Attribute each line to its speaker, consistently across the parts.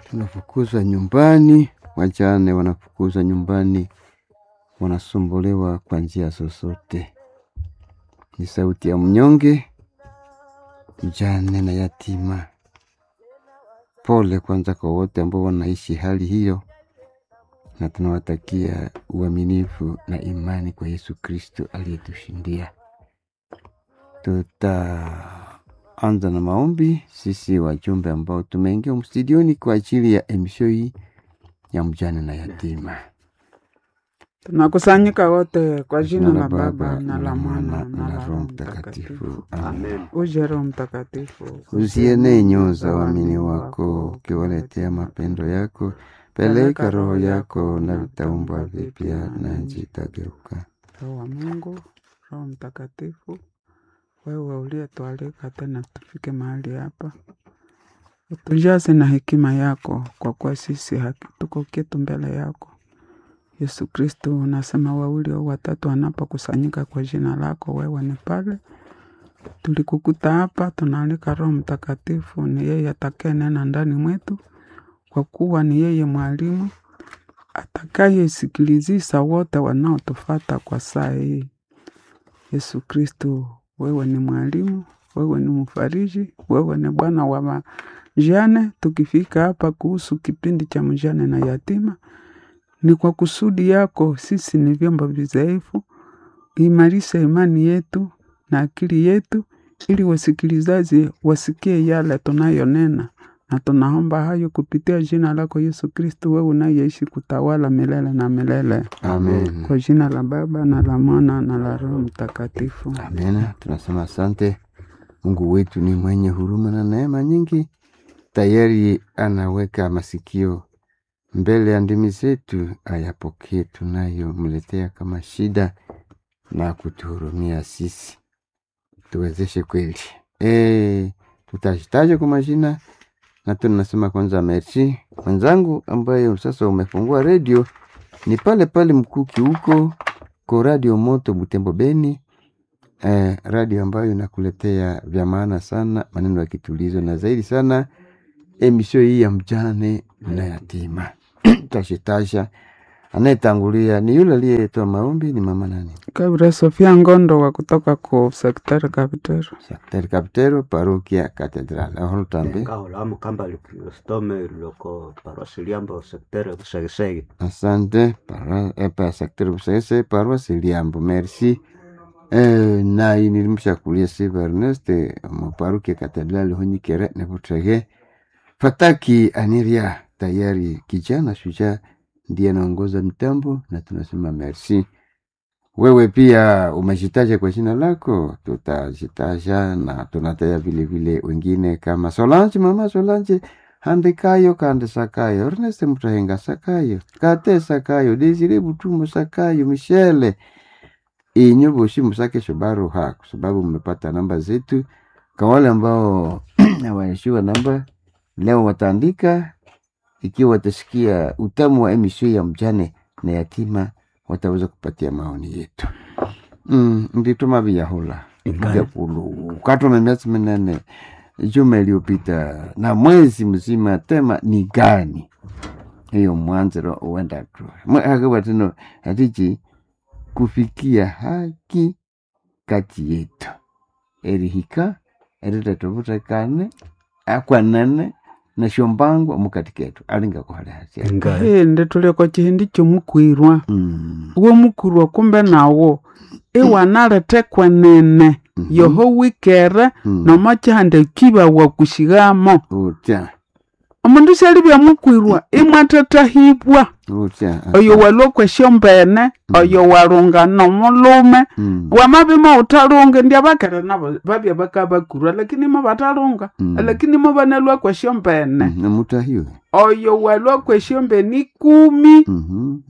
Speaker 1: Tunafukuzwa nyumbani, wajane wanafukuzwa nyumbani, wanasumbuliwa kwa njia zozote. Ni sauti ya mnyonge, mjane na yatima. Pole kwanza kwa wote ambao wanaishi hali hiyo, na tunawatakia uaminifu na imani kwa Yesu Kristo aliyetushindia. Tutaanza na maombi sisi wajumbe ambao tumeingia mstudioni kwa ajili ya emisho hii ya mjane na yatima.
Speaker 2: Tunakusanyika wote kwa jina la Baba na la Mwana na la Roho Mtakatifu.
Speaker 1: Amen.
Speaker 2: Uje Roho Mtakatifu,
Speaker 1: Uzienee nyoyo za waamini wako, ukiwaletea mapendo yako. Peleka roho yako na vitaumbwa vipya, na nchi itageuka.
Speaker 2: Roho wa Mungu, Roho Mtakatifu, wewe uliyetualika tena tufike mahali hapa, utujaze na hekima yako, kwa kuwa sisi tuko kitu mbele yako. Yesu Kristo, unasema wawili au watatu wanapokusanyika kwa jina lako, wewe ni pale. Tulikukuta hapa, tunaalika Roho Mtakatifu, ni yeye atakayenena ndani mwetu, kwa kuwa ni yeye mwalimu atakayesikilizisa wote wanaotufata kwa saa hii. Yesu Kristo, wewe ni mwalimu, wewe ni mfariji, wewe ni Bwana wa wajane. Tukifika hapa kuhusu kipindi cha mjane na yatima, ni kwa kusudi yako. Sisi ni vyombo vidhaifu, imarisha imani yetu na akili yetu, ili wasikilizaji wasikie yale tunayonena, na tunaomba hayo kupitia jina lako Yesu Kristo, wewe unayeishi kutawala milele na milele.
Speaker 1: Amen.
Speaker 2: Kwa jina la Baba na la Mwana na la Roho Mtakatifu.
Speaker 1: Amina. Tunasema asante. Mungu wetu ni mwenye huruma na neema nyingi, tayari anaweka masikio mbele ya ndimi zetu, ayapokee tunayomletea kama shida na kutuhurumia sisi, tuwezeshe kweli. Tutashitaja kwa majina na tunasema kwanza merci mwenzangu ambaye sasa umefungua redio, ni pale pale Mkuki huko ko Radio Moto Butembo Beni. Radio ambayo inakuletea vya maana sana, maneno ya kitulizo na zaidi sana emisio hii ya mjane na yatima. Tashitasha anayetangulia ni yule aliyetoa maombi ni mama nani?
Speaker 2: Kabra Sofia Ngondo wa kutoka ku sektari Kapitero.
Speaker 1: Sekteri Kapitero, parokia Katedral. Aholo tambe.
Speaker 3: Kahola mukamba Kristome loko parosi Liambo sektere Busegesege.
Speaker 1: Asante para sekteri Busese, parosi Liambo. Merci. Na nilimshakulia Siva Ernest mu parokia Katedral hunyikere nebutrege. Fataki Aniria tayari kijana shujaa ndiye anaongoza mtambo na tunasema merci. Wewe pia umejitaja kwa jina lako, tutajitaja na tunataja vile vile wengine kama Solange, mama Solange handikayo kande sakayo, Ernest Mutahenga sakayo, Kate sakayo, Desire Butumo sakayo, Michele inyo boshi musake shobaruha, kwa sababu mmepata namba zetu. Kwa wale ambao hawaishiwa namba leo wataandika, ikiwa watasikia utamu wa emisio ya mjane na yatima wataweza kupatia maoni yetu. Ndituma viyahula vyakulu katuma miezi minane juma iliyopita na mwezi mzima, tema ni gani hiyo mwanziro uenda tu akabatino atichi kufikia haki kati yetu erihika eritetuvutrekane akwanene nashombangwa mukati ketu alinga kuhala hasia
Speaker 2: Hii ndi kwa chihindi chomukwirwa uwo mukwirwa kumbe nawo iwanalete kwenene yoho wikere nomo chihanda kibawa kushigamo
Speaker 1: utya
Speaker 2: omundu syalibya mukwirwa imwathathahibwa
Speaker 1: utya
Speaker 2: oyo walwa kwesyombene oyo walunga nomulume wamabima uthalunga ndi abakere nabo babya bakabakurwa lakini mo batalunga lakini mo banalwa kwesyombene
Speaker 1: namutahiwe
Speaker 2: oyo walwa kwesyombene ikumi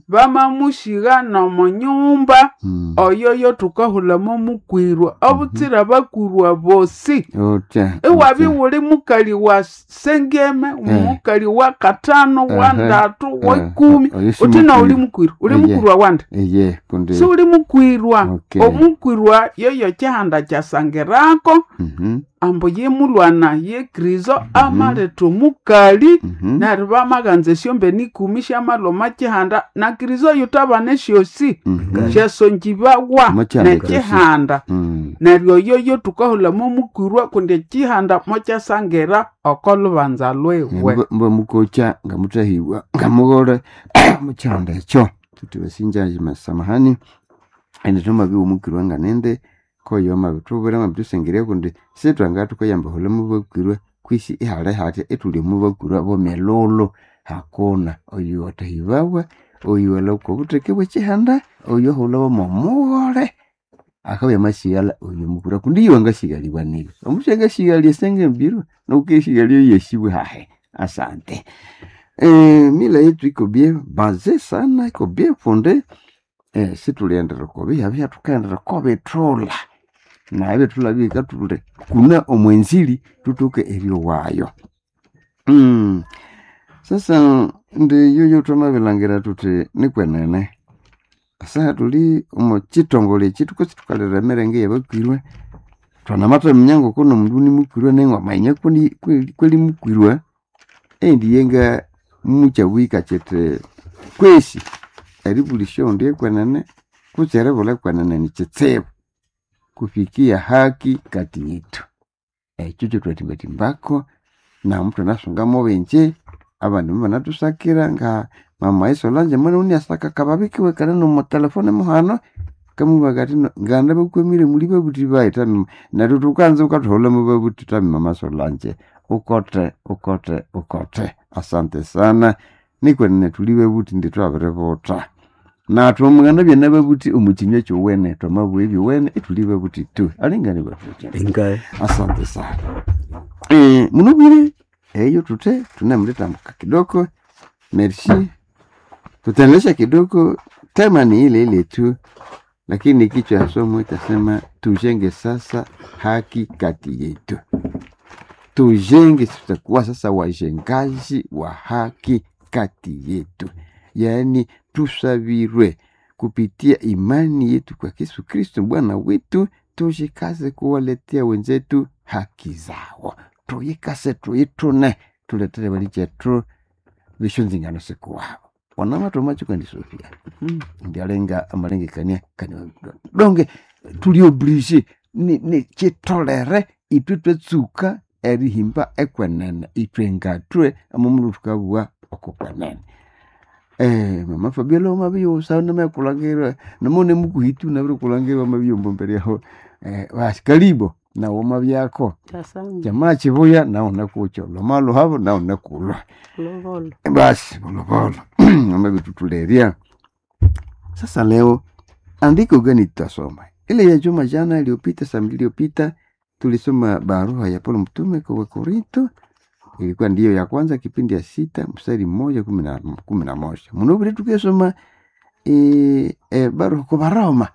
Speaker 2: bamamushigha nomunyumba oyo yo thukahulamo mukwirwa obutsira bakwirwa bosi
Speaker 1: utya
Speaker 2: iwabya wuli mukali wa sengeme mukali wa katano wa ndatu wa ikumi
Speaker 1: Oyo si
Speaker 2: uthi na uli
Speaker 1: mukwirwa.
Speaker 2: mukwirwa uli
Speaker 1: Eye.
Speaker 2: mukwirwa wanda
Speaker 1: eye kundi
Speaker 2: si uli mukwirwa
Speaker 1: Okay.
Speaker 2: omukwirwa yoyo kyihanda kyasangirako
Speaker 1: Mhm,
Speaker 2: ambu ye mulwana ye kristo amaletha omukali
Speaker 1: mhm.
Speaker 2: neryo Neryo bamaganza esyombene ikumi syamalhwa kihanda na Kristo yutabana esyosi syasongibawa
Speaker 1: Mokyihanda kyosi.
Speaker 2: nekihanda. Neryo oyoyo tukahulamo mukwirwa kundi ekihanda mokyasangira oko lubanza lwiwe.
Speaker 1: Mba mukocha nga mutahibwa nga mughole mukyihanda ekyo. Tuti basinja samahani indi thwamabya mukwirwa nga nindi koyo amabithubwira amabithusengerya kundi sithwangathukayamba hulha mubakwirwa kwisi ihali hatya ithuli mubakwirwa bomilhulhu hakuna oyo wathahibawa oyo walhwa okobutheke bwekyihanda oyo ahulhawa mwomughole akabya amasighalha oyo mukwirwa kundi iwe angasighalibwa nibi omundu syangasighalya esyangambirwa nokukessighalya eyasibwe hahi. Asante. Mila yetu iko bien base sana iko bien fonde sithuliendera okobihya thukaghendera okobithulha na ebithulha bikathule kuna omwenzili thuthoke eryowayo. Sasa indi yoyo thwamabilhangira thuthi nikwenene esaha thuli omo kyithongole ekyi thukasi thukalira emirenge eyabakwirwe thwanamathaminya ngoko nomundu nimukwirwe naye ngwamanya kweli mukwirwe eyindi yenga mukyabwika kyithi kwesi eribulhisya owundi ekwenene kutse eribulha ekwenene nikyitsibu kufikia haki kati yethu. Ekyo kyethwathimbathimbaku namuthwanasunga mubingi abandi mubanathusakira nga mama Solange mwana uniasaka akababi kiwe kane nomo telefone muhano kamubwira akathi nganda bakwamire muli babuthi bayi tami neryo thukanza wukathuhulha mubabuthi tami mama Solange ukothe ukothe ukothe. Asante sana nikwenene thuli babuthi indi thwabiributha nathu omughana nababuthi omukyinywa kyowene thwamabugha ebyowene ithuli babuthi tu alingane babuthi.
Speaker 3: Ingae.
Speaker 1: Asante sana. Munubwire eyo thuthe thunemulithambuka kidogo. Merci. Tutaendelesha kidogo, tema ni ile ile tu, lakini kichwa ya somo itasema tujenge sasa haki kati yetu. Tujenge, tutakuwa sasa wajengaji wa haki kati yetu, yaani tusabirwe kupitia imani yetu kwa Yesu Kristo Bwana wetu, tujikaze kuwaletea wenzetu haki zao, tuyikase tuyitune, tuletere balichethu bishonzingano sikuwabo wanamatomacho kandi Sofia ndialenga amalengekania kani donge tuli oblige ni, ni chitolere itwe twetsuka erihimba ekwenene itwe ngatwe amomulu tukabugha okukwenene. Mama Fabiola omabiyusa namakulangirwa namone mukuhitu nabirikulangirwa amabiyombo mbere yaho basi kalibo nawe omabyako
Speaker 4: Asante.
Speaker 1: jamaa chibuya nawe nakucho loma luhabo nawe nakulwa
Speaker 4: Lovolo.
Speaker 1: basi bolobolo amabitutuleria. Sasa leo andiko gani tutasoma? Ile ya juma jana iliyopita, saa mbili iliyopita tulisoma barua ya Paulo mtume kwa Wakorinto, ilikuwa ndiyo ya kwanza kipindi ya 6 mstari 1 11. Munobire tukesoma barua kwa Baroma.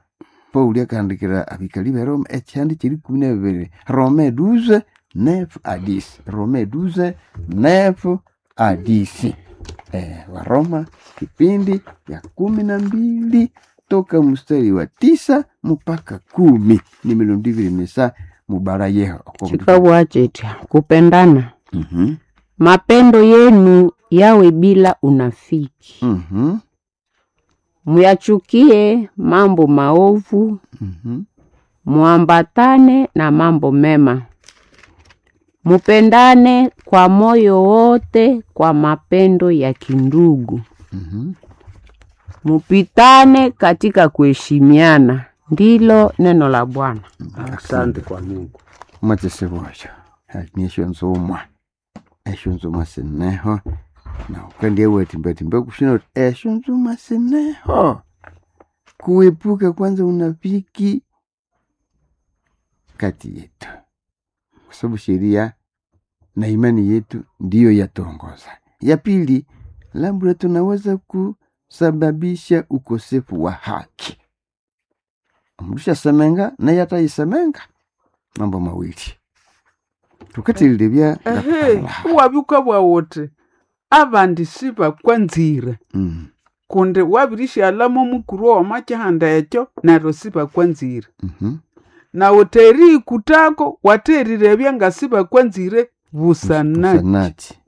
Speaker 1: Paulo akaandikira abikali ba Roma ekyandi kiri 12 Rome 12 9 à 10 Rome 12 9 à 10. Waroma kipindi ya 12 toka mstari wa 9 mpaka 10 ni milundi misa mubara yeho
Speaker 4: Chikabwa chetya kupendana. Mapendo yenu yawe bila unafiki. Muyachukie mambo maovu, muambatane na mambo mema. Mupendane kwa moyo wote kwa mapendo ya kindugu. Mupitane katika kuheshimiana. Ndilo neno la Bwana.
Speaker 3: Asante kwa Mungu.
Speaker 1: Mwachesebwacho nisho nzumwa esho nzumwa sineho na ukandia wetimbatimba kushina uti esho nzumwa sineho kuepuka kwanza unafiki kati yetu, kwa sababu sheria na imani yetu ndiyo yatuongoza. Ya pili, labda tunaweza kusababisha ukosefu wa haki. Mrusha semenga naye ataisemenga mambo mawili tukatililebya
Speaker 2: Ehe, uwabyuka bwawuthi abandi sibakwanzire kundi wabirishalamo mukuru owamakihanda ekyo neryo sibakwanzire. Nawe terikutako waterirebya nga sibakwanzire busanaki.
Speaker 1: Busanati.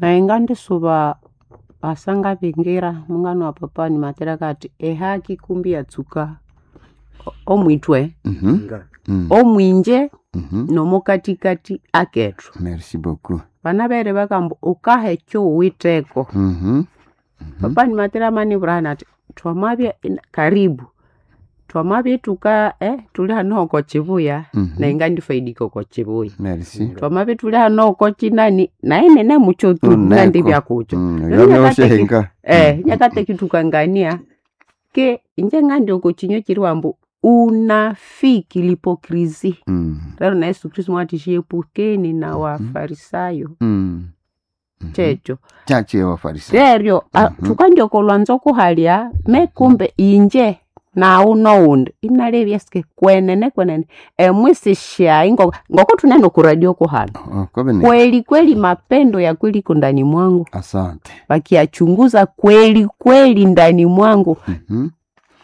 Speaker 4: Naye ngandisuba asanga bingira mungano wa papa ni materaka ati ehaki kumbi yatsuka omwitwe
Speaker 3: Nga.
Speaker 4: Omwinje nomokatikati akethu.
Speaker 1: Merci beaucoup.
Speaker 4: Bana bere bakamba ukaha ekyo uwitheko. Papa ni matera manibwira ati twamabya karibu twamabya ithuka thuli hano hoko kibuya. Naye ngandifaidika oko kibuya.
Speaker 1: Merci.
Speaker 4: Twamabya ithuli hano oko kinani naye nine mukyo tu.
Speaker 1: Uneko.
Speaker 4: Ngandibya kukyo. Neryo
Speaker 1: Yamyoshenga.
Speaker 4: Nyakateki thukangania ke inje ngandi oko kinywa kiri wambu unafiki, l'hypocrisie. Rero na Yesu Kristo mwathi epukeni na wafarisayo. Kyekyo.
Speaker 1: Chache wafarisayo.
Speaker 4: Neryo thukandya oko lwanzo kuhalya me kumbe inje nawu nowundi inalebya sike kwenene kwenene emwisi syayi ngoko thunene oku radio kuhano.
Speaker 1: Oh, kwabene.
Speaker 4: Kweli kweli mapendo ya kweli iko ndani mwangu.
Speaker 1: Asante.
Speaker 4: Wakiyachunguza kweli kweli ndani mwangu.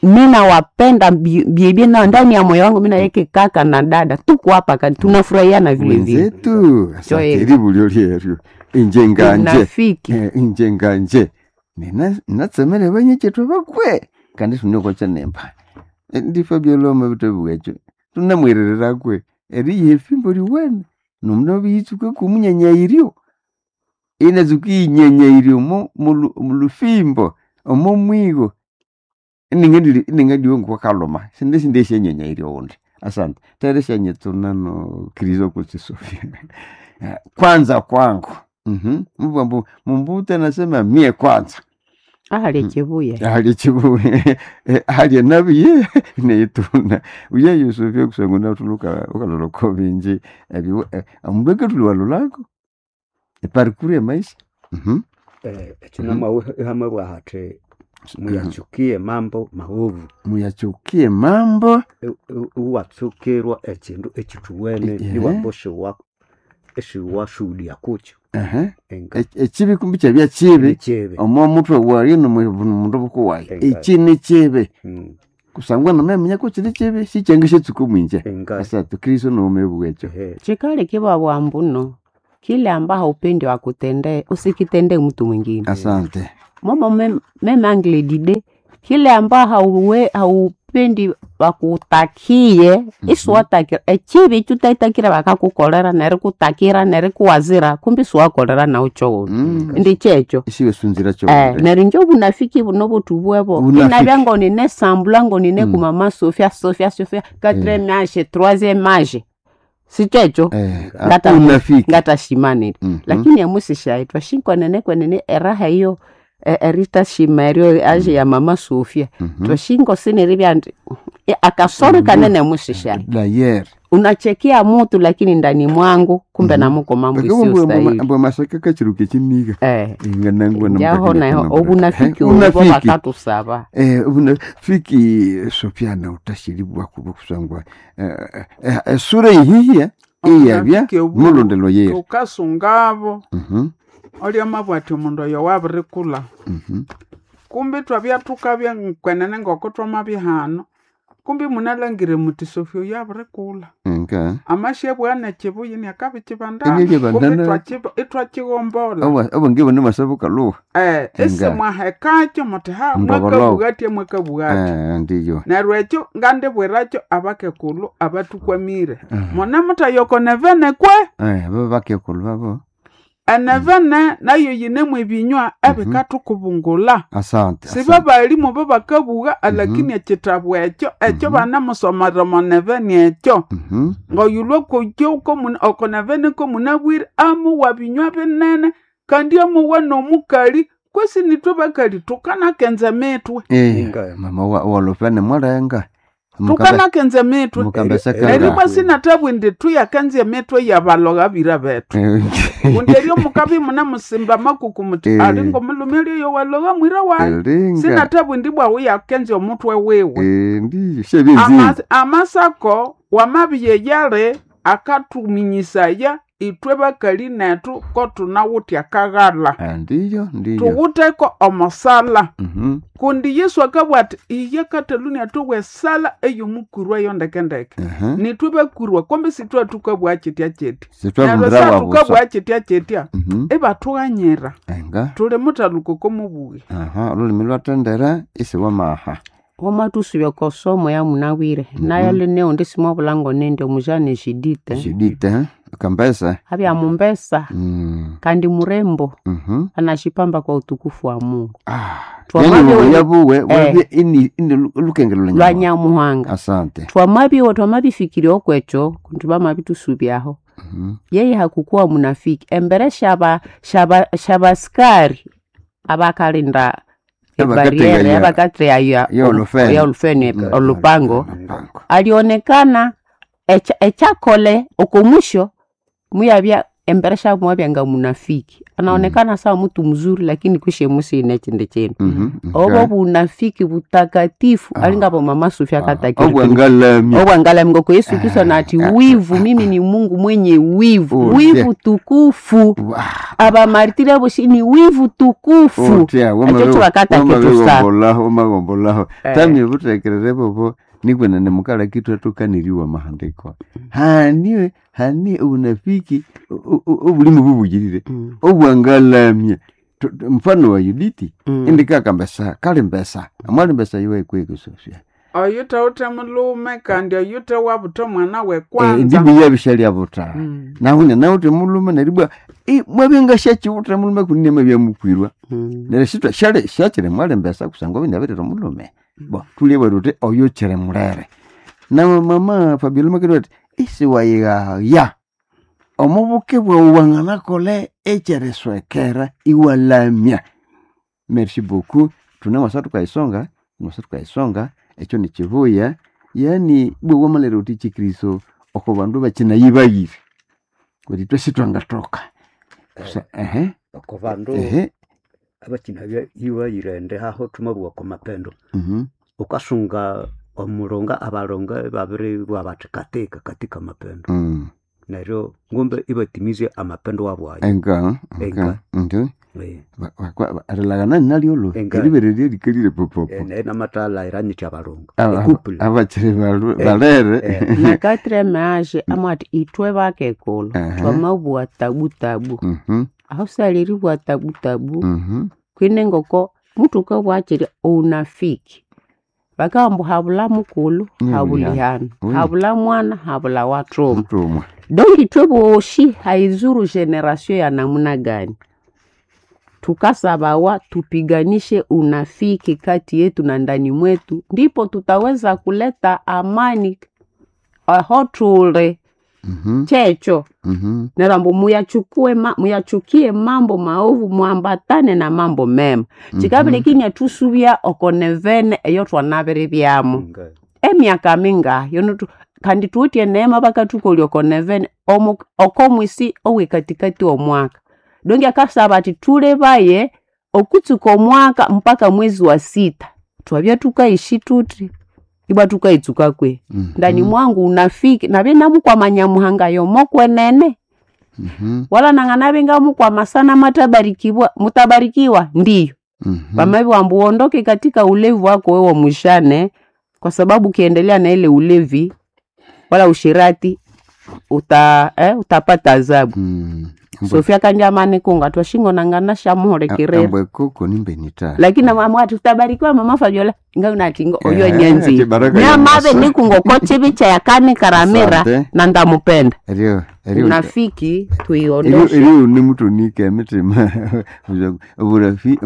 Speaker 4: Mina wapenda biebie na ndani ya moyo wangu mina yeke kaka na dada tuko hapa tunafurahiana vile vile.
Speaker 1: Wenzetu. Asante.
Speaker 4: Joel.
Speaker 1: Ribulyo lyeryo inje nganje.
Speaker 4: Unafiki.
Speaker 1: Inje nganje nina natsemere banyechethu bakwe kandi tuniokocha nemba. Ndifo byoloma bitobwekyo tunamwererera kwe eriyiha efimbo liwene nomuno biyitsuka kumunyanyayiryo inatsuka iyinyanyayiryo mo mulufimbo omo mwigo iningandiwe ngokwakaluma sindi esyenyanyayiryo undi. Asante tere syanyetsuna no kristo kutsi Sofia. Kwanza kwangu. Mbwambu mumbuta nasema mie kwanza.
Speaker 4: Ahali ekibuya.
Speaker 1: Ahali ekibuya ahali enabi ye neyituna uye Yusufia kusangwa natuluka ukaloloko binji ebyo omundu akathuliwalolako eparikuru emaisha.
Speaker 3: Ekyo namabwa hathi muyachukie mambo maovu.
Speaker 1: Muyachukie mambo.
Speaker 3: Iwatsukirwa ekindu ekithuwene iwamba esiwashuhudia kukyo. Enga.
Speaker 1: Ekibi kumbi kyabya kibi.
Speaker 3: Nikibi.
Speaker 1: Omo mutwe wayi nomundu bukuwayi.
Speaker 3: Enga.
Speaker 1: Eki ni kibi kusangwa namaminya kukiri kibi sikyanga syatsuka omwinje.
Speaker 3: Enga.
Speaker 1: Asatu Kristo nomebwa ekyo.
Speaker 4: Chikali kiba bwambuno kile amba haupendi wakutendee usikitendee mtu mwingine.
Speaker 1: Asante.
Speaker 4: Momo meme angle dide kile amba haupendi wakutakie isiwatakira ekibi kyutaitakira bakakukolera nerikutakira nerikuwazira kumbi siwakolera nawu kyowunu. Ndi kyekyo.
Speaker 1: Isiwe sunzira kyo.
Speaker 4: Neryo inje obunafiki buno butubwebo
Speaker 1: Bunafiki.
Speaker 4: inabya ngonine sambula ngonine kumama Sofia Sofia Sofia quatrième âge troisième âge sikyekyo.
Speaker 1: Unafiki.
Speaker 4: Ngatashimanire. Lakini emusishaitwa shinkwenene kwenene eraha iyo eritashima eryo age ya mama Sofia twashingo siniribya ndi akasoro kanene musisha
Speaker 1: Dayer.
Speaker 4: unachekia mutu lakini ndani mwangu kumbe namuko mambo isiyostahili.
Speaker 1: Mbwa masaka kachiruka ekiniga. Inganangwa
Speaker 4: Njaho naho obunafiki obwo bakatusaba.
Speaker 1: Obunafiki Sofia na utashiribwa kuba kusangwa esura ihihia iyabya
Speaker 2: Obunafiki obu-
Speaker 1: mulondelo yeri.
Speaker 2: Tukasungabo olya mabwa ati omundu oyo wabirikulha. Kumbi twabya thukabya kwenene ngoko twamabya hano kumbi munalangire muthi Sofia oyo abirikulha.
Speaker 1: Nga.
Speaker 2: Amasyabugha nekibuya iniakabikibandana.
Speaker 1: Inye
Speaker 2: Kumbi
Speaker 1: bandana.
Speaker 2: ithwakighombolha.
Speaker 1: Obwange bune masabuka luha. Nga.
Speaker 2: Isimwahekakyo muthi ha
Speaker 1: Mbogolo.
Speaker 2: mwakabugha athi mwakabugha athi.
Speaker 1: Ndiyo.
Speaker 2: Neryo ekyo ngandibwirакyo abakekulhu abathukwamire. Mune muthayoko nevene kwe.
Speaker 1: Abo bakekulhu babo.
Speaker 2: Enevene nayo yinemu ebinywa ebikathukubungula.
Speaker 1: Asante.
Speaker 2: Siba balimu bobakabugha alakini ekitabu ekyo ekyo banamusomera omo nevene ekyo. Ngoyulwa kukyo oko nevene komunabwire amuwa binywa binene kandi amuwa nomukali kwesi nithwe bakali thukanakenza emitwe.
Speaker 3: Inga.
Speaker 1: Mama walofene mwalenga.
Speaker 2: Thukanakenza emitwe.
Speaker 1: Mukambeseka.
Speaker 2: Neryo sinathabwa indi thuyakenza emitwe yabalogha bira bethu. Kundi eryo mukabya imunemusimba amakuku muthi ali ngomulhume eryo walogha mwira wayi.
Speaker 1: Elinga.
Speaker 2: Sinathabwa indi bwawu yakenza omutwe wiwe.
Speaker 1: Ndiyo shebizi.
Speaker 2: Amasako wamabya eyali akathuminyisaya. Itwe bakali nethu ko tunawithe akaghala.
Speaker 1: Ndiyo ndiyo.
Speaker 2: Tuwutheko omosala.
Speaker 1: Mhm.
Speaker 2: Kundi Yesu akabugha athi iye kataluni athowa esala ey'omukwirwa yo ndekendeke.
Speaker 1: Aha.
Speaker 2: Nithwe bakwirwa kumbe sithwe thukabugha kyitya kyitya. Neryo
Speaker 1: Sitwabundira wabusa.
Speaker 2: sathukabugha kyitya kyitya
Speaker 1: Mhm.
Speaker 2: ibathughanyira.
Speaker 1: Enga.
Speaker 2: Tuli muthaluka oko mubuya.
Speaker 1: Aha, olulimi lwatendera isiwa maha.
Speaker 4: Wamathusubya oko somo ya munabwire nayo lineundi simwabulha nindi omujane Judith
Speaker 1: Judith, eh? Kambesa.
Speaker 4: abya mumbesa kandi murembo
Speaker 1: Mhm.
Speaker 4: anashipamba kwa utukufu wa Mungu.
Speaker 1: Ah. Yani
Speaker 4: Twamabye
Speaker 1: ubuya buwe
Speaker 4: eh.
Speaker 1: wabye ini ini lukengelo
Speaker 4: lwa
Speaker 1: lwa
Speaker 4: Nyamuhanga.
Speaker 1: Asante.
Speaker 4: Twamabye twamabifikiria okwekyo kundi bamabithusubyaho
Speaker 1: Mhm.
Speaker 4: yeye hakukuwa munafiki embere shaba shaba shabasikari abakalinda ebariere
Speaker 1: Abakategaya-
Speaker 4: abakategaya
Speaker 1: ya olufeni.
Speaker 4: ya olufeni olupango
Speaker 1: Olupango.
Speaker 4: alionekana echakole okomusho muyabya embere shabu mwabya munafiki anaonekana sawa mtu mzuri lakini kwishe musine chindi chinu
Speaker 1: Mhm.
Speaker 4: obo bunafiki butakatifu alingabo mama Sofia katakiri
Speaker 1: Obwangalamya.
Speaker 4: obwangalamya ngoko Yesu Kristo nati wivu mimi ni Mungu mwenye wivu
Speaker 1: Utya.
Speaker 4: wivu tukufu
Speaker 1: Wah.
Speaker 4: abamaritiri aboshi ni wivu tukufu
Speaker 1: Utya,
Speaker 4: ekyo kibakatakitusaba
Speaker 1: wamabigombolaho wamagombolaho
Speaker 4: Eh.
Speaker 1: tamye butekerere bobo nikwenene mukala kitu atukaniriwa mahandiko hani hani unafiki obulimu bubugirire obwangalamya mfano wa Yuditi indikakambesa kali mbesa amwali mbesa iwe kwekusofya
Speaker 2: Oyuthawithe mulume kandi oyuthe wabutha omwana w'ekwanza.
Speaker 1: ndibu yabishalya buta
Speaker 2: Mm.
Speaker 1: nahunya nawuthe mulume neribwa mwabinga syakiwutha mulume kunine mwabyamukwirwa neryo sitwa syali syakiri mwali mbesa kusangwa binabirira omulume bo tulye tuti oyo kyiri mulere na mama Fabiola makiri ati isiwayighaya omubuke bwawu wanganakola ekyeriswekera iwalamya. Merci beaucoup tunamwasa tukaisonga mwasa tukaisonga ekyo nikibuya yani bwe wamalira uti chikristo oko bandu bakinayibayire kuti twesi twangatoka ehe
Speaker 3: oko bandu
Speaker 1: ehe
Speaker 3: abakina ibayire haho thumabugha oko mapendo
Speaker 1: mhm
Speaker 3: ukasunga omulonga abalonga babiri bwa bathi katika katika mapendo neryo ngumbe ibatimize amapendo wabu ayo
Speaker 1: enga enga
Speaker 3: Enga.
Speaker 1: ndio
Speaker 3: Eh,
Speaker 1: rilagana nalyolo
Speaker 3: Enga.
Speaker 1: eribererye likalire popopo
Speaker 3: naye namathala iranyitya abalonga ecouple
Speaker 1: abakiri balere
Speaker 3: eh.
Speaker 4: Na quatrième age amwati itwe bakekulu
Speaker 1: Aha.
Speaker 4: twamabugha tabu tabu
Speaker 1: Mhm,
Speaker 4: aho saliribwa tabu tabu
Speaker 1: mhm.
Speaker 4: kwine ngoko mutu ukabwakiri unafiki bakabamba habula mukulu
Speaker 1: Ni
Speaker 4: habulihano
Speaker 1: Oui.
Speaker 4: habula mwana habula wathuma
Speaker 1: Mutumwa.
Speaker 4: donc itwe boshi haizuru generation ya namna gani tukasabawa tupiganishe unafiki kati yetu na ndani mwetu ndipo tutaweza kuleta amani aho tule
Speaker 1: Mhm,
Speaker 4: checho
Speaker 1: mhm.
Speaker 4: nerambo muyachukue ma, muyachukie mambo maovu mwambatane na mambo mema chikabile kinya tusubya okonevene eyo twanabiri byamo
Speaker 3: Nga.
Speaker 4: emyaka mingahi yono kandi tuwitye neema bakathukolya okonevene okomwisi owikatikati omwaka dongi akasaba ati tulebaye okutsuka omwaka mpaka mwezi wa sita twabya tukaishi tuti ibwa tukaitsuka kwe
Speaker 1: Mhm,
Speaker 4: ndani mwangu unafiki nabye namukwama muhanga yomokwenene
Speaker 1: mhm,
Speaker 4: wala nang'ana ngamukwama sana matabarikibwa mutabarikiwa ndiyo
Speaker 1: mhm.
Speaker 4: vamavi wambu uondoke katika ulevi wako wewe mwishane kwa sababu ukiendelea na ile ulevi wala ushirati utapata adhabu.
Speaker 1: Mm.
Speaker 4: Sofia kandi kunga twashingo nangana shamuholekerera
Speaker 1: Ambwe koko nimbenita
Speaker 4: lakini mama ati utabarikiwa mama Fabiola nga unatingo oyo
Speaker 1: Eh,
Speaker 4: nyenzi
Speaker 1: ati baraka ya
Speaker 4: nyamave
Speaker 1: Musa.
Speaker 4: nikungo kochivicha yakani karamira
Speaker 1: Asante.
Speaker 4: na ndamupenda
Speaker 1: erio erio
Speaker 4: unafiki
Speaker 1: erio
Speaker 4: tuiondoshe
Speaker 1: erio nimutunike emitima oburafi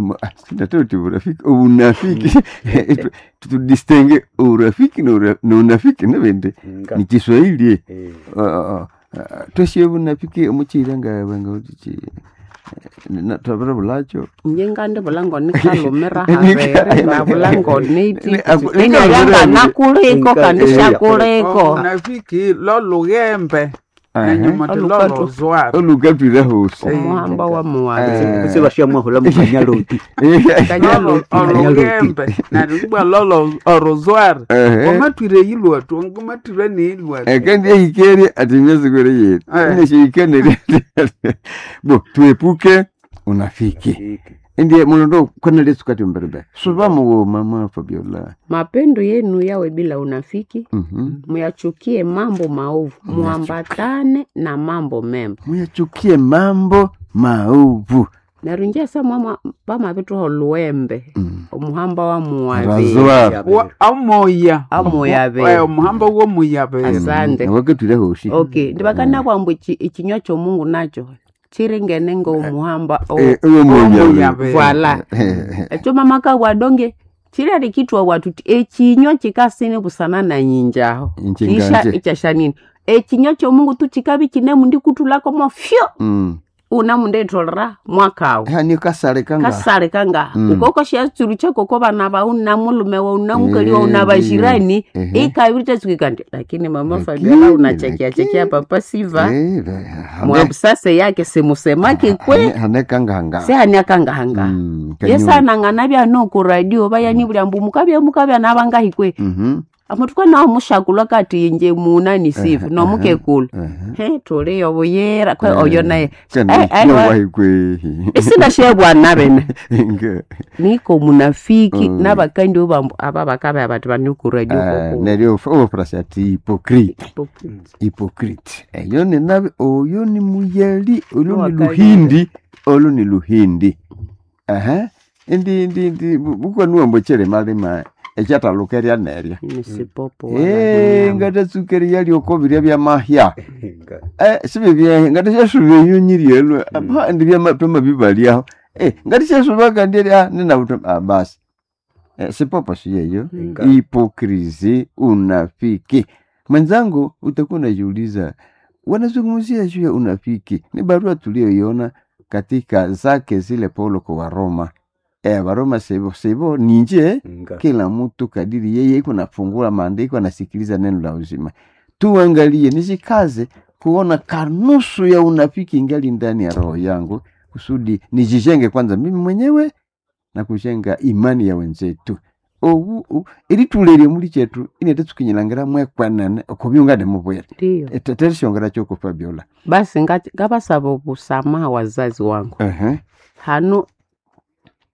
Speaker 1: sinatoti burafiki obunafiki tudistingue urafiki na na unafiki nibindi
Speaker 3: Nga.
Speaker 1: ni Kiswahili
Speaker 3: Eh,
Speaker 1: tweshe bunafiki omuchiira nga nga twabira bulacho
Speaker 4: nje ngandi bulango nikalumira havere na bulango niti
Speaker 1: Ni-
Speaker 4: inyalya nakuliko
Speaker 3: Nika-
Speaker 4: kandi
Speaker 3: eh,
Speaker 4: shakuliko
Speaker 2: Unafiki lolughembe. Nenyuma tilolo zwari.
Speaker 1: Olukatwire hosi.
Speaker 4: Omuhamba wa muwabe.
Speaker 3: Kutse bashamwahula mukanyaloti.
Speaker 4: Kanyaloti.
Speaker 2: Olugembe neryo lolo orozwari. Wamatwire yilwatu, ngamatwire niyilwatu.
Speaker 1: Kandi ehikere ati myezi kwere yetu ineshihikane bo tuepuke unafiki ndiye mulondo kwana lesu kati mbelebe suba muwo mama Fabiola.
Speaker 4: Mapendo yenu yawe bila unafiki. Muyachukie mambo maovu, muambatane na mambo mema.
Speaker 1: Muyachukie mambo maovu.
Speaker 4: Neryo inje samwama pamabithuha oluwembe omuhamba wa muwabe.
Speaker 1: Razwar.
Speaker 2: Amoya.
Speaker 4: Amoya be.
Speaker 2: Omuhamba womuya be.
Speaker 4: Asante.
Speaker 1: Wakatwire hosi.
Speaker 4: Okay, ndibakanabwa mbu ichinywa kyomungu nacho chiringene ngomuhamba
Speaker 1: owomuya be.
Speaker 4: Voila. Ekyo mama kabwa donge chilali kitwa watu ti echinywa chikasine busana na nyinjaho. Kisha ichashanini. Echinywa kyomungu tu chikabi chinemu ndikutulako mofyo. Una mundetolera mwakawo.
Speaker 1: Hani kasale kanga.
Speaker 4: Kasale kanga. Ukoko shatsuru chako ko bana ba una mulume wa una mukali wa una bajirani ikabiri tsukikandi. Lakini mama Fabiola unachekia chekia papa Siva. Mwabusase yake simusemaki kwe.
Speaker 1: Hane kanga hanga.
Speaker 4: Se hane kanga hanga. Yesa nangana bya no ku radio bayani buli ambu mukabya mukabya nabangahi kwe. Amatuka nawo mushakulwa kati inje muna ni sivu no mukekulu. He tuliyo buyera kwe oyo naye. Isina shebwa nabene. Niko munafiki nabakandi obambu aba bakabe abati bani ku radio koko.
Speaker 1: Neryo ofrasi ati hypocrite. Hypocrite. Eyo ni nabi oyo ni muyeli oyo ni luhindi oyo ni luhindi. Aha. Ndi ndi ndi bukwa mbochere malima. Ekyataluka nerya ngatatsukeri yalioko birya byamahya sibibye ngatasyasuba enyonyi lyelwe ndi byamapema bibalyaho ngatasyasuba kandi ninabuto basi sipopo siyeyo. Hipokrisi, unafiki. Mwenzangu, utakuwa unajiuliza wanazungumzia juu ya unafiki. Ni barua tuliyoiona katika zake zile Paulo kwa Waroma. Waroma sebo sebo ninje kila mtu kadiri yeye iko nafungula maandiko anasikiliza neno la uzima. Tuangalie nisikaze kuona kanusu ya unafiki ingali ndani ya roho yangu kusudi nijijenge kwanza mimi mwenyewe na kujenga imani ya wenzetu. Ili tulerie muli chetu inete tukinyilangira mwekwanene okubyungane mubwere. Eteterishongera choko Fabiola.
Speaker 4: Basi ngabasaba obusamaha wazazi wangu. Hano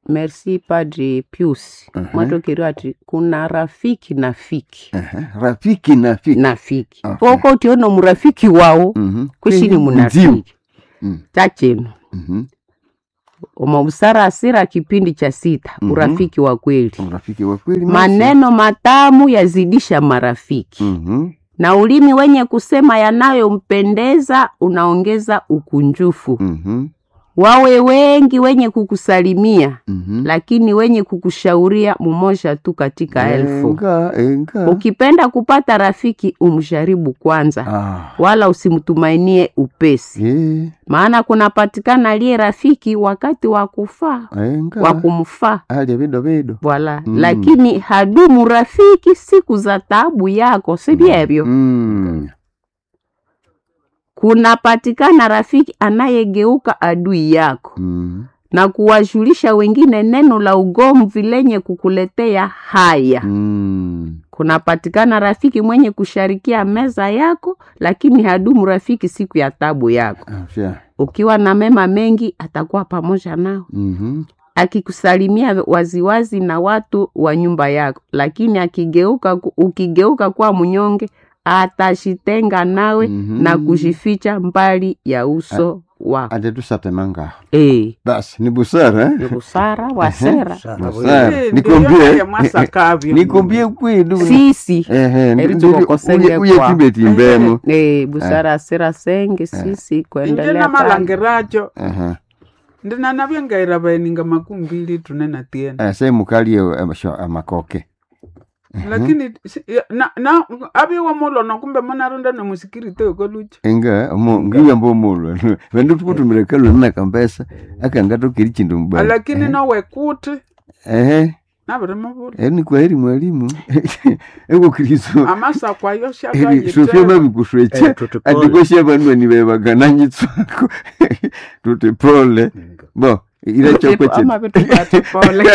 Speaker 4: merci Padre Pius. Mwatokeriwa ati kuna rafiki na fiki.
Speaker 1: Rafiki na fiki.
Speaker 4: Na fiki. Poko utiona murafiki wao kushini munafiki. Chachino. Omobusara asira kipindi cha 6 urafiki wa kweli.
Speaker 1: Urafiki wa kweli.
Speaker 4: Maneno matamu yazidisha marafiki. Na ulimi wenye kusema yanayompendeza unaongeza ukunjufu. Wawe wengi wenye kukusalimia, lakini wenye kukushauria mumoja tu katika elfu. Ukipenda kupata rafiki umjaribu kwanza, wala usimtumainie upesi. Maana kunapatikana aliye rafiki wakati wa kufaa, wa kumfaa. Wala, lakini hadumu rafiki siku za taabu yako, si vyevyo? Kunapatikana rafiki anayegeuka adui yako na kuwajulisha wengine neno la ugomvi lenye kukuletea haya. Kunapatikana rafiki mwenye kusharikia meza yako, lakini hadumu rafiki siku ya tabu yako. Ukiwa na mema mengi atakuwa pamoja nao. Akikusalimia waziwazi na watu wa nyumba yako, lakini ukigeuka kuwa mnyonge atashitenga nawe na kujificha mbali ya uso wako.
Speaker 1: Atetusatemanga. Basi ni busara.
Speaker 4: Ni busara wasera.
Speaker 1: Busara. Nikuambie. Nikuambie kweli.
Speaker 4: Sisi.
Speaker 1: Uye kimbe timbemo.
Speaker 4: Busara asera senge sisi kuendelea.
Speaker 2: Ndina malangiracho. Ndina nabyangaira baeninga 20 tunena tiena.
Speaker 1: Se mukalie amakoke.
Speaker 2: Lakini na abiwa mulo na kumbe manaronda na musikirite okolucha
Speaker 1: enga mo ngiya mbo mulo vendu tukutumira kalo na kambesa akangatokiri chindu mbali
Speaker 2: lakini nawe kuti Nabirimubula.
Speaker 1: Eri ni kwaheri mwalimu. Ego Kristo.
Speaker 2: Amasako ayo
Speaker 1: Eri Sofia
Speaker 2: syakayitera.
Speaker 1: mabikuswecha.
Speaker 3: Tuti pole.
Speaker 1: Ati banwani bebagananyitswako. Tuti pole. Bo, ira chokwe chino.
Speaker 4: Amabituka pole.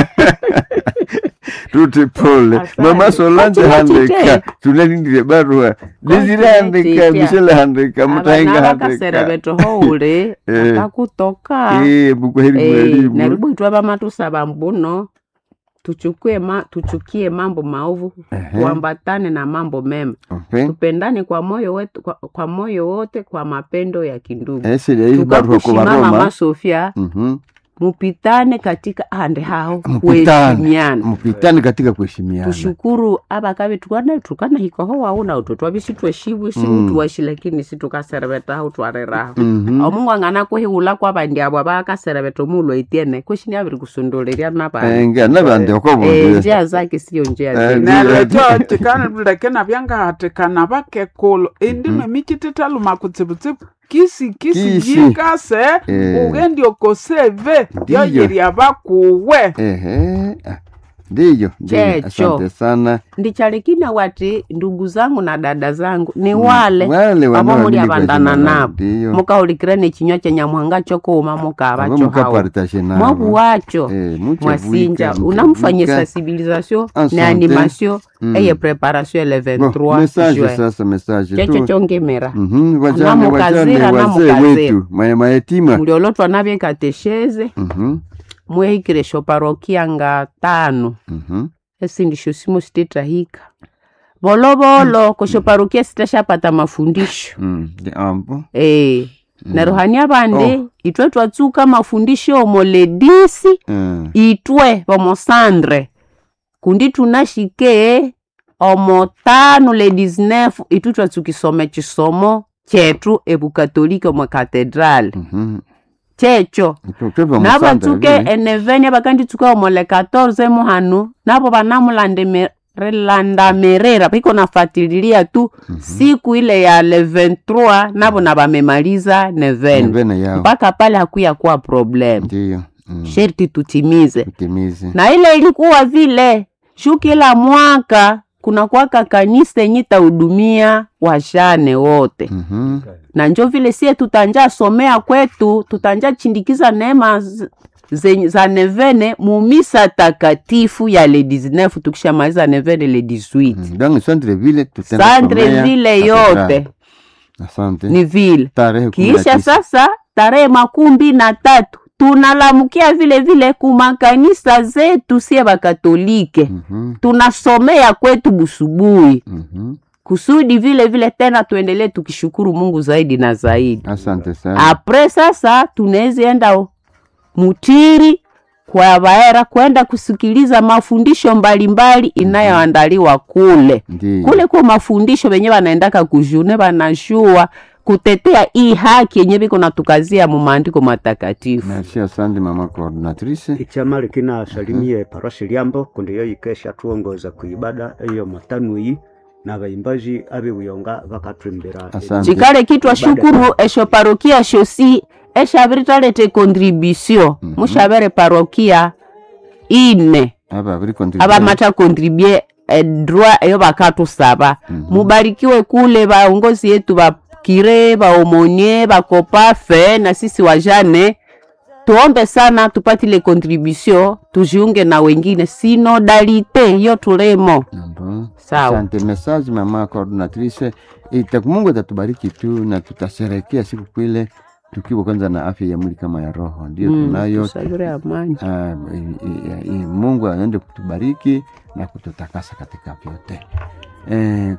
Speaker 1: Tuti pole.
Speaker 4: Asante.
Speaker 1: Mama Solange
Speaker 4: Kati
Speaker 1: handika.
Speaker 4: chite.
Speaker 1: Tunalindire barua. Desire handika,
Speaker 4: chite.
Speaker 1: Michelle handika, Mutahenga
Speaker 4: Abana
Speaker 1: handika.
Speaker 4: bakaserebeto houle
Speaker 1: Eh.
Speaker 4: akakutoka.
Speaker 1: Bukwaheri
Speaker 4: Eh,
Speaker 1: mwalimu.
Speaker 4: naribu itwe bamatusaba mbuno tuchukue tuchukie mambo maovu
Speaker 1: Ehe.
Speaker 4: tuambatane na mambo mema
Speaker 1: Okay.
Speaker 4: tupendane kwa moyo wetu, kwa moyo wote kwa mapendo ya kindugu
Speaker 1: Esiri hii barua kwa
Speaker 4: tukakushimama
Speaker 1: Roma.
Speaker 4: mama Sofia mupitane katika ande hao
Speaker 1: Mupitane.
Speaker 4: kuheshimiana
Speaker 1: Mupitane katika kuheshimiana.
Speaker 4: tushukuru abakabi tukana tukana hikoho wauna utwe twabisi tweshibu sibu tuwashi lakini situkaserebeta twareraho omungu angana kuhiula kwabandi abo abakaserebeta omuulu etiene kweshini abiri kusunduliria nabandi
Speaker 1: Enga nabandi okobo.
Speaker 4: njia zake siyo njia zetu
Speaker 2: Neryo ekyo kikaleke nabyangahatikana bakekulu indimo emikitithaluma kutsibutsibu kisi kisi
Speaker 1: Kisi.
Speaker 2: yikase
Speaker 1: Eh.
Speaker 2: ugendi okoseve
Speaker 1: Ndiyo.
Speaker 2: yoyirya bakuwe
Speaker 1: Ehe. Ah, Ndiyo, ndiyo.
Speaker 4: Checho.
Speaker 1: Asante sana.
Speaker 4: ndichalikina wati ndugu zangu na dada zangu ni wale
Speaker 1: Wale
Speaker 4: abo muli
Speaker 1: wanaoamini kwa
Speaker 4: abandana
Speaker 1: jina la-
Speaker 4: nabo
Speaker 1: Ndiyo.
Speaker 4: mukahulikira nechinywa cha nyamuhanga chokuuma mukaba
Speaker 1: Abo
Speaker 4: cho hao
Speaker 1: mukapartashe nabo.
Speaker 4: mwabu wacho
Speaker 1: Muche
Speaker 4: mwasinja
Speaker 1: bwika,
Speaker 4: unamfanyia
Speaker 1: muche bwika.
Speaker 4: sensibilisation
Speaker 1: Asante.
Speaker 4: ne animation
Speaker 1: Mm.
Speaker 4: eye preparation le
Speaker 1: Bo,
Speaker 4: 23
Speaker 1: message
Speaker 4: juin
Speaker 1: sasa message
Speaker 4: checho
Speaker 1: tu.
Speaker 4: chongemera
Speaker 1: Wajane
Speaker 4: Anamukazira,
Speaker 1: wajane wazee
Speaker 4: anamukazira.
Speaker 1: wetu, mayatima.
Speaker 4: muliolotwa nabye katesheze mwehikire shoparokia nga tano esindi shosimo sitethahika volovolo koshoparokia sitashapata mafundisho
Speaker 1: Ndi ambo.
Speaker 4: Eh, neryo hania bandi itwe twatsuka mafundisho omo ledisi itwe vomosandre kundi tunashike omo tano le 19 itwe twatsuka isoma echisomo chetu ebukatolika omo katedrali checho nabatsuke eneveni abakanditsuka omo le 14 muhanu nabo banamulandamirira biko nafatililia tu siku ile ya le 23 nabo nabamemaliza neveni
Speaker 1: Nevene yao.
Speaker 4: mpaka pale hakuya kuwa problem
Speaker 1: Ndiyo.
Speaker 4: Sherti tutimize
Speaker 1: Tutimize.
Speaker 4: na ile ilikuwa vile shu kila mwaka kuna kwaka kanisa yenye tahudumia wajane wote na njo vile sie tutanja somea kwetu tutanja chindikiza neema za nevene mumisa takatifu ya le 19 tukishamaliza nevene le 18
Speaker 1: Donc centre ville tutenda
Speaker 4: Centre
Speaker 1: somea
Speaker 4: ville
Speaker 1: katedrali.
Speaker 4: yote
Speaker 1: Asante.
Speaker 4: ni vile
Speaker 1: Tarehe kumi na
Speaker 4: kisha
Speaker 1: tisa.
Speaker 4: sasa tarehe 23 tunalamukia vile vile kumakanisa zetu sie bakatolike tunasomea kwetu busubuhi kusudi vile vile tena tuendelee tukishukuru Mungu zaidi na zaidi.
Speaker 1: Asante sana.
Speaker 4: Apre sasa tunaweza enda mutiri kwa baera kwenda kusikiliza mafundisho mbalimbali inayoandaliwa kule
Speaker 1: Ndiyo.
Speaker 4: kule kwa mafundisho wenye wanaendaka kujune wanashua kutetea hii haki yenye biko natukazia mu maandiko matakatifu.
Speaker 1: Merci, asante mama coordinatrice.
Speaker 3: Ichama likina salimie parosi liambo kundi yo yikesha tuongoza kuibada iyo matanu iyi na baimbaji abewiyonga bakatwimbira
Speaker 1: Asante.
Speaker 4: Chikale kitwa shukuru esho parokia shosi eshaviritalete contribution mushavere parokia ine
Speaker 1: Aba biri contribuer.
Speaker 4: abamata contribue droit eyo bakatusaba mubarikiwe kule baongozi yetu bakire baomonie bakopafe na sisi wajane tuombe sana tupatile contribution tujiunge na wengine sinodalite yo tulemo
Speaker 1: Ambo.
Speaker 4: Sawa.
Speaker 1: Asante message mama coordinatrice. Itaku Mungu atatubariki tu na tutasherehekea siku kwile tukiwa kwanza na afya ya mwili kama ya roho. Ndio tunayo.
Speaker 4: tusabire amani
Speaker 1: Ah, Mungu aende kutubariki na kututakasa katika vyote.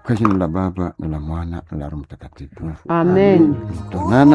Speaker 1: Kwa jina la Baba na la Mwana na la Roho Mtakatifu.
Speaker 4: amen
Speaker 1: Tuonana.